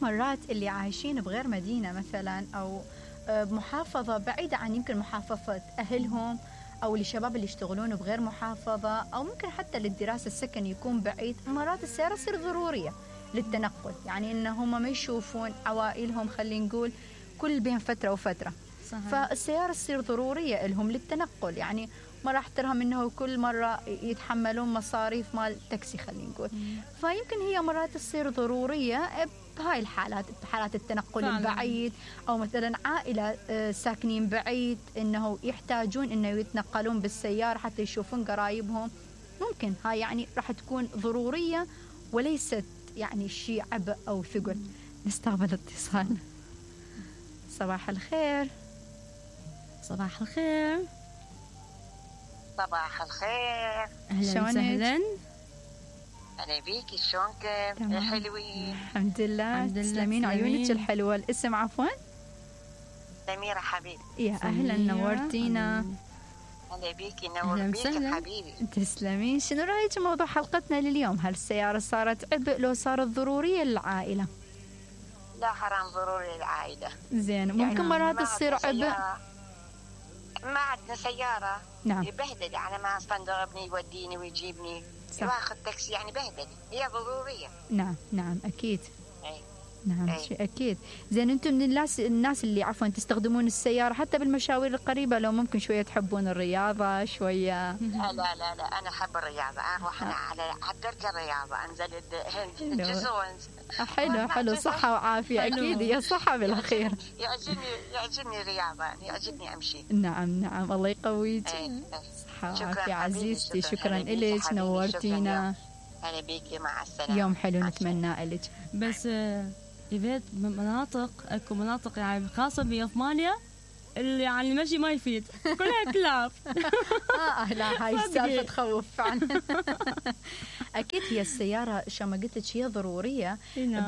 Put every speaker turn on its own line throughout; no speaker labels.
مرات اللي عايشين بغير مدينة مثلا أو بمحافظة بعيدة عن يمكن محافظة أهلهم، أو للشباب اللي يشتغلون بغير محافظة، أو ممكن حتى للدراسة السكن يكون بعيد، مرات السيارة تصير ضرورية للتنقل. يعني إن هم ما يشوفون عوائلهم خلينا نقول كل بين فترة وفترة. صحيح. فالسيارة تصير ضرورية لهم للتنقل. يعني ما راح ترهم إنه كل مرة يتحملون مصاريف مال تاكسي خلينا نقول. فيمكن هي مرات تصير ضرورية بهاي الحالات، بحالات التنقل فعلا. البعيد، أو مثلا عائلة ساكنين بعيد إنه يحتاجون إنه يتنقلون بالسيارة حتى يشوفون قرايبهم. ممكن هاي يعني راح تكون ضرورية وليست يعني شيء عبء أو ثقل. نستقبل اتصال. صباح الخير.
صباح الخير.
صباح الخير.
أهلا وسهلا.
أهلا بيكي، شلونكم يا حلوين؟
الحمد لله. تسلمين عيونك الحلوة. الاسم عفوا؟
سميرة حبيبي.
يا أهلا، نورتينا.
أهلا بيكي، نور بيك حبيبي.
تسلمين. شنو رأيك موضوع حلقتنا لليوم؟ هل السيارة صارت عبء لو صارت ضرورية للعائلة؟
لا، حرام ضروري للعائلة.
زين. ممكن يعني مرات تصير عبء.
ما عندنا سيارة.
نعم.
يبهدل على ما صندوق ابني يوديني ويجيبني. واخذ تاكسي يعني بهدل. هي ضرورية.
نعم أكيد.
أي.
نعم شيء أكيد. زين. أنتم من الناس اللي عفوا تستخدمون السيارة حتى بالمشاوير القريبة، لو ممكن شوية تحبون الرياضة شوية؟
لا أنا أحب الرياضة. أروح أنا على درجة الرياضة، أنزل الجسر.
حلو. صحة وعافية. أكيد هي صحة بالأخير.
يعجبني الرياضة، يعجبني أمشي.
نعم الله يقويك. صحة وعافية عزيزتي. شكرا إلك، نورتينا.
أهلا بيكي، مع السلامة.
يوم حلو نتمنى لك.
بس إذا أكو مناطق يعني خاصة بأثمانيا اللي يعني المشي ما يفيد، كلها كلاب.
لا هاي السالفة تخوف فعلا. أكيد هي السيارة شو ما قلت لك هي ضرورية،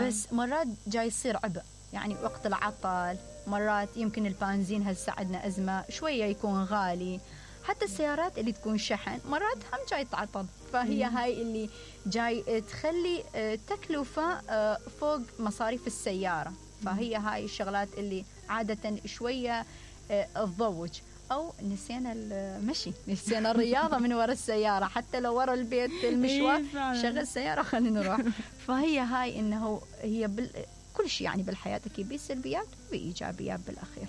بس مرات جاي يصير عبء. يعني وقت العطل مرات يمكن البنزين هسه عندنا أزمة شوية يكون غالي. حتى السيارات اللي تكون شحن مرات هم جاي تعطل. فهي هاي اللي جاي تخلي تكلفة فوق مصاريف السيارة. فهي هاي الشغلات اللي عادة شوية تضوج. أو نسينا المشي، نسينا الرياضة من وراء السيارة. حتى لو وراء البيت المشوار شغل السيارة خلينا نروح. فهي هاي إنه هي كل شيء يعني بالحياة أكيد بسلبيات وبإيجابيات بالأخير.